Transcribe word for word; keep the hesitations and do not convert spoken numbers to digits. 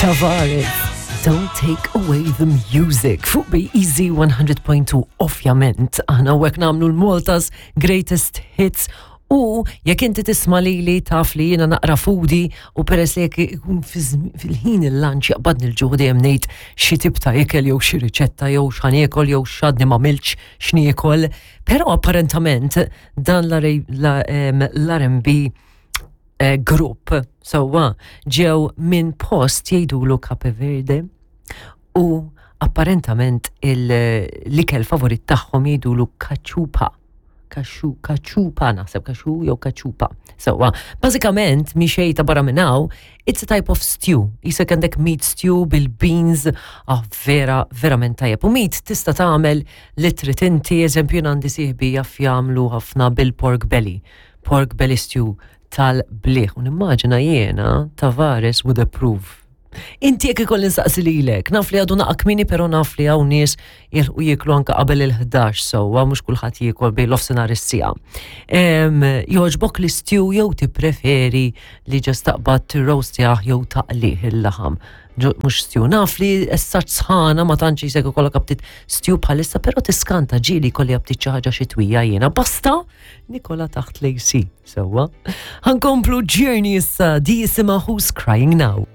Tavares, "Don't Take Away the Music", fuq B Easy one hundred point two. Ovvjament, aħna hawnhekk nagħmlu l-Malta's Greatest Hits u jekk inti tisma' lili taf li jiena naqra foodie u peress li jekk ikun fil-ħin il-lunch jaqbadni l-ġuħ, dejjem ngħid xi tip ta' ikel jew xi riċetta jew x'ħa niekol jew x'għadni m'għamiltx x'niekol. Però apparentament dan l-R and B eh, grupp sewwa ġew minn post jgħidulu Cape Verde u apparentament l-ikel favorit tagħhom jgħidulu kaċupa. Kaxu, kaċupa naħseb, kaxu jew kaċupa. Sewwa, bażikament mi xejn ta' barra minn hawn, it's a type of stew. Jisek għandek meat stew bil-beans, ah, vera, verament tajjeb. U meat tista' tagħmel li trid inti, eżempju, jien għandi sieħbi jaf jagħmlu ħafna bil-pork belly. Pork belly stew tal-bliħ. U nimmaġina jiena Tavares would approve. Inti jekk ikolli nsaqsi lilek, naf li għadu naqa kmieni, pero naf li hawn nies jilħqu jieklu anka qabel il-ħdax, sewwa, mhux kulħadd jiekol bejn l-offsenar is-siegħa. Jogħġbok l-stew jew tippreferi li just taqbad tirroastjah jew taqlih il-laħam? Mhux stew? Naf li issa sħana ma tantx jisek ikollok aptit stew bħalissa, però tiskanta, ġieli kolli aptit xi ħaġa xitwija jiena. Basta nikola taħt l-A C, sewwa. Ħa nkomplu Journey issa, di jisimha "Who's Crying Now".